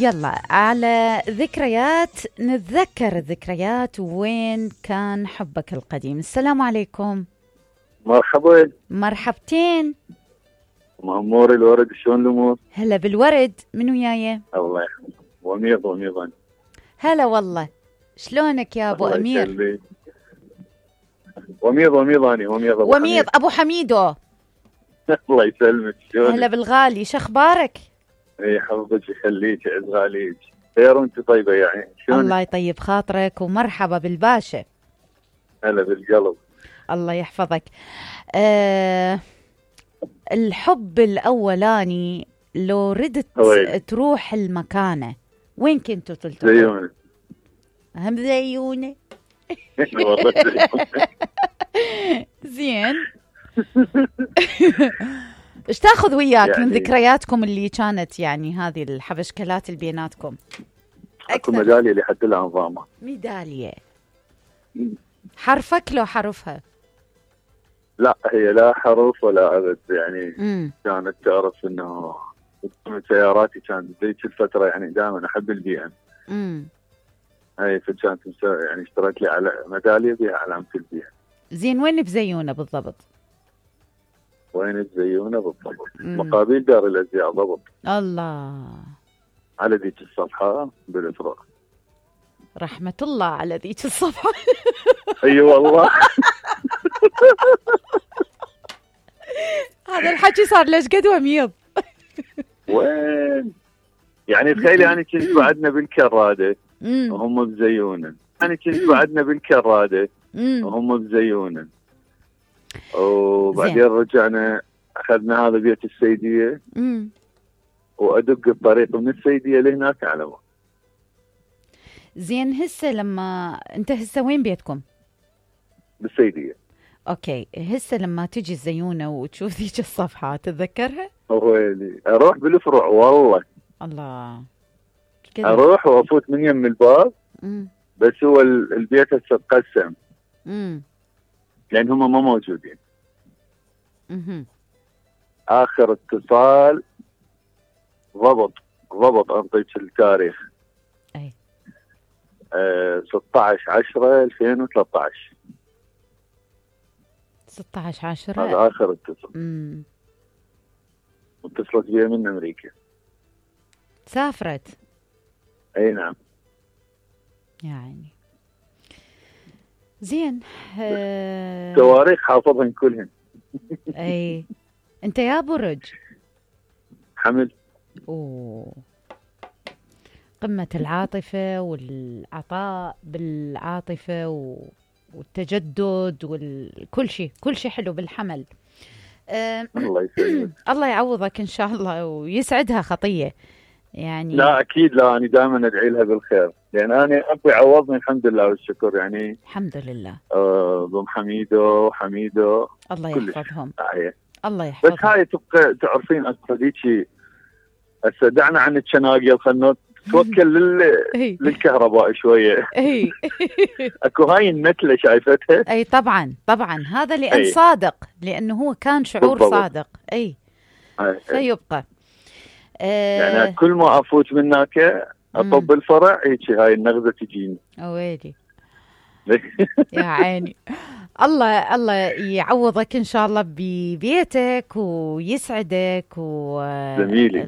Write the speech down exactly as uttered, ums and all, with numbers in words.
يلا على ذكريات، نتذكر الذكريات وين كان حبك القديم. السلام عليكم. مرحبا. مرحبتين. مأمور الورد، شلون الأمور؟ هلا بالورد، من وياي؟ الله يحفظك. وميض وميض. هلا والله، شلونك يا أبو أمير؟ يخليك. وميض وميض أنا وميض أبو وميض حميد. أبو حميدو. الله يسلمك، شلونك؟ هلا بالغالي، شخبارك؟ اي حفظك يخليك، عز غاليك. خير وانت طيبة يعني، شلونك؟ الله يطيب خاطرك ومرحبا بالباشا. هلا بالقلب. الله يحفظك. أه الحب الأولاني لو ردت وين؟ تروح المكانة، وين كنتوا تلتقوا؟ زيونة. هم زيونة. والله زيونة. زين. ايش تاخذ وياك يعني من ذكرياتكم اللي كانت يعني هذه الحبشكلات اللي بيناتكم؟ اكو ميدالية لحد الآن ضامة. ميدالية حرفك لو حرفها؟ لا هي لا حرف ولا أبد يعني. مم. كانت تعرف انه سياراتي كانت ذيك الفترة يعني دائما احب البي ام. امم اي فكانت يعني اشتريت لي على ميدالية بها علامة البي ام. زين، وين بزيونة بالضبط؟ وين بزيونة بالضبط؟ مم. مقابل دار الازياء ضبط. الله. على ذيك الصفحة بالافراء. رحمة الله على ذيك الصفحة. اي والله. هذا الحكي صار ليش قد وميض. وين يعني تخيلي انا كنت بعدنا بالكرادة وهم بزيونة، انا كنت بعدنا بالكرادة وهم بزيونة، وبعدين رجعنا اخذنا هذا بيت السيدية وادق الطريق من السيدية لهناك على ما. زين، هسه لما انت هسه وين بيتكم؟ بالسيدية. اوكي، هسه لما تجي الزيونة وتشوف ذيك الصفحة تتذكرها؟ ويلي اروح بالفروع والله. الله. كده. اروح وافوت من يم الباب. مم. بس هو البيت هسه تقسم. امم لان هم ما موجودين. اها اخر اتصال ضبط ضبط انطيك التاريخ. اي آه ستة عشر عشرة ألفين وثلاثة عشر. ستة عشر عشرة هذا اخر اتصال. امم واتصلت بي من امريكا. سافرت؟ اي نعم. يعني زين. أه... تواريخ حافظهن كلهن. اي انت يا برج حمل. اوه، قمة العاطفة والعطاء بالعاطفة و... والتجدد وكل شيء، كل شيء حلو بالحمل. أه... الله يسلمك. الله يعوضك ان شاء الله ويسعدها خطية يعني. لا اكيد، لا انا دائما ادعي لها بالخير، لان انا ابوي عوضني الحمد لله والشكر يعني. الحمد لله. آه ضم حميدو حميدو الله يحفظهم. الله يحفظهم. بس هاي تبقى تعرفين اكو ذيك هسه دعنا عن الشناقل، خلنا توكل لل... للكهرباء شويه. اي اكو هاي النتله شايفتها؟ اي طبعا طبعا، هذا لان أي. صادق، لانه هو كان شعور بالضبط. صادق. اي أي. فيبقى آه يعني كل ما افوت من هناك اطب الفرع هيك هاي النغزه تجيني. ويلي يا عيني. الله الله يعوضك ان شاء الله ببيتك ويسعدك و جميلي.